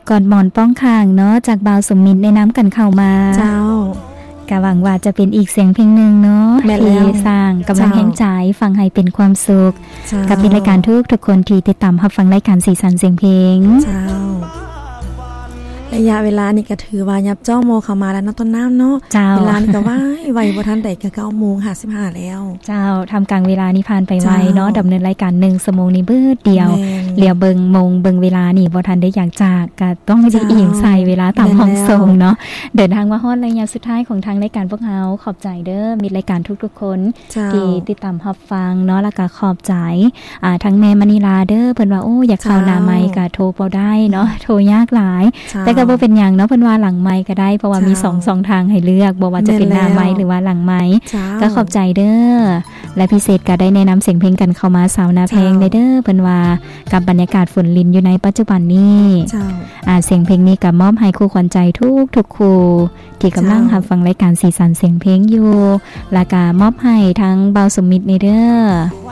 ກອດໝອນປ້ອງຂ້າງເນາະ ຈາກບ່າວສົມມິດແນະນຳກັນເຂົ້າມາ. ເຈົ້າ. ກະຫວັງວ່າຈະເປັນອີກສຽງເພງໜຶ່ງເນາະ ແມ່ນແລ້ວ ທີ່ສ້າງກຳລັງແຮງໃຈ ເຈົ້າ ຟັງໃຫ້ເປັນຄວາມສຸກ ເຈົ້າ ກັບມິດລາຍການທຸກໆຄົນທີ່ຕິດຕາມຮັບຟັງລາຍການສີສັນສຽງເພງ. ເຈົ້າ. ໄລຍະເວລານີ້ກະຖືວ່າຫຍັບຈ້ອງໂມເຂົ້າມາແລ້ວເນາະ ຕົ້ນນ້ຳເນາະ. ເຈົ້າ. ເວລານີ້ກະໄວໆ ບໍ່ທັນໄດ້ກະເກົ້າໂມງຫ້າສິບຫ້າແລ້ວ. ເຈົ້າ. ທ່າມກາງເວລານີ້ຜ່ານໄປໄວເນາະ. ເຈົ້າ. ດຳເນີນລາຍການໜຶ່ງຊົ່ວໂມງນີ້ບຶດດຽວ. ແມ່ນ. ຫຼຽວເບິ່ງໂມງເບິ່ງເວລານີ້ບໍ່ທັນໄດ້ຢາກຈະ ກະຕ້ອງໄດ້ອີງໃສ່ເວລາຕາມຫ້ອງສົ່ງເນາະ. ເຈົ້າ. ແມ່ນແລ້ວ. ເດີນທາງມາຮອດໄລຍະສຸດທ້າຍຂອງທາງລາຍການພວກເຮົາ. ຂອບໃຈເດີ ມິດລາຍການທຸກໆຄົນ ເຈົ້າ ທີ່ຕິດຕາມຮັບ ຟັງເນາະ ແລ້ວກະຂອບໃຈ ອ່າ ທັງແມ່ມະນີລາເດີ ເພິ່ນວ່າ ໂອ້ ຢາກເຂົ້າ ເຈົ້າ ໜ້າໄມກະໂທບໍ່ໄດ້ເນາະ ເຈົ້າ ໂທຍາກຫຼາຍ. ເຈົ້າ. ແຕ່ກະບໍ່ເປັນຫຍັງເນາະ ເພິ່ນວ່າຫຼັງໄມກະໄດ້ ເພາະວ່າມີ ເຈົ້າ ສອງຊ່ອງທາງໃຫ້ເລືອກ ບໍ່ວ່າຈະເປັນໜ້າໄມ ແມ່ນແລ້ວ ຫຼືວ່າຫຼັງໄມ. ເຈົ້າ. ກະຂອບໃຈເດີ ແລະ ພິເສດກະໄດ້ແນະນຳສຽງເພງກັນເຂົ້າມາ ສາວນາແພງ ເຈົ້າ ເດີ ເດີ ເພິ່ນວ່າກັບບັນຍາກາດຝົນລິນຢູ່ໃນປັດຈຸບັນນີ້. ເຈົ້າ. ອ່າ ສຽງເພງນີ້ກະມອບໃຫ້ຄູ່ຂວັນໃຈທຸກໆຄູ່ ທີ່ກຳລັງ ເຈົ້າ ຮັບຟັງລາຍການສີສັນສຽງເພງຢູ່ ແລ້ວກະມອບໃຫ້ທາງບ່າວສົມມິດແດ່ເດີ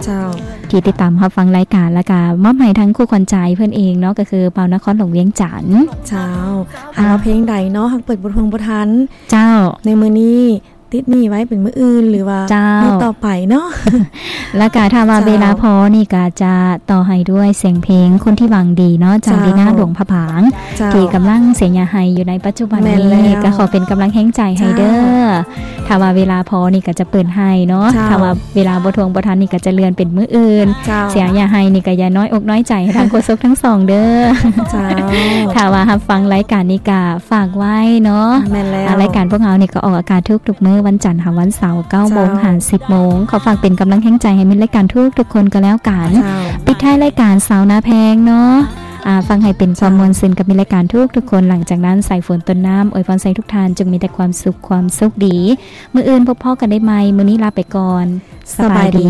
ເຈົ້າ ທີ່ຕິດຕາມຮັບຟັງລາຍການ ແລ້ວກະມອບໃຫ້ທາງຄູ່ຂວັນໃຈເພິ່ນເອງເນາະ ກະຄືບ່າວນະຄອນຫຼວງວຽງຈັນ. ເຈົ້າ. ຫາກວ່າເພງໃດເນາະ ຫາກເປີດບໍ່ທົ່ງບໍ່ທັນ ເຈົ້າ ໃນມື້ນີ້ ຕິດໜີ້ໄວ້ເປັນມື້ອື່ນ ຫຼືວ່າ ເຈົ້າ ມື້ຕໍ່ໄປເນາະ. ແລ້ວກະຖ້າວ່າ ເຈົ້າ ເວລາພໍນີ້ກະຈະຕໍ່ໃຫ້ດ້ວຍສຽງເພງຄົນທີ່ຫວັງດີເນາະ ຈາກ ເຈົ້າ ລີນາ ຫຼວງພະບາງ ເຈົ້າ ທີ່ກຳລັງເສຍເຫຍື່ອໄຫ້ຢູ່ໃນປັດຈຸບັນນີ້. ແມ່ນແລ້ວ. ກະຂໍເປັນກຳລັງແຮງໃຈໃຫ້ເດີ. ເຈົ້າ. ຖ້າວ່າເວລາພໍນີ້ກະຈະເປີດໃຫ້ເນາະ. ເຈົ້າ. ຖ້າວ່າເວລາບໍ່ທົ່ງບໍ່ທັນນີ້ກະຈະເລື່ອນເປັນມື້ອື່ນ. ເຈົ້າ. ເສຍເຫຍື່ອໄຫ້ນີ້ກະຢ່ານ້ອຍອົກນ້ອຍໃຈໃຫ້ທາງໂຄສົກທັງສອງເດີ. ເຈົ້າ. ຖ້າວ່າຮັບຟັງລາຍການນີ້ກະ ຝາກໄວ້ເນາະ. ແມ່ນແລ້ວ. ອ່າ ລາຍການພວກເຮົານີ້ກະອອກອາກາດທຸກໆມື້ ວັນຈັນຫາວັນເສົາ ເກົ້າໂມງ ເຈົ້າ ຫາ ສິບໂມງ. ຂໍຝາກເປັນກຳລັງແຮງໃຈໃຫ້ມິດລາຍການທຸກໆຄົນກະແລ້ວກັນ. ເຈົ້າ. ປິດທ້າຍລາຍການ ສາວນາແພງເນາະ. ອ່າ ຟັງໃຫ້ເປັນຄວາມ ເຈົ້າ ມ່ວນຊື່ນກັບມິດລາຍການທຸກໆຄົນ. ຫຼັງຈາກນັ້ນ ສາຍຝົນ ຕົ້ນນ້ຳ ອວຍພອນໃສ່ທຸກທ່ານຈົ່ງມີແຕ່ຄວາມສຸກ ຄວາມໂຊກດີ. ມື້ອື່ນພົບພໍ້ກັນໄດ້ໃໝ່. ມື້ນີ້ລາໄປກ່ອນ. ສະບາຍດີ.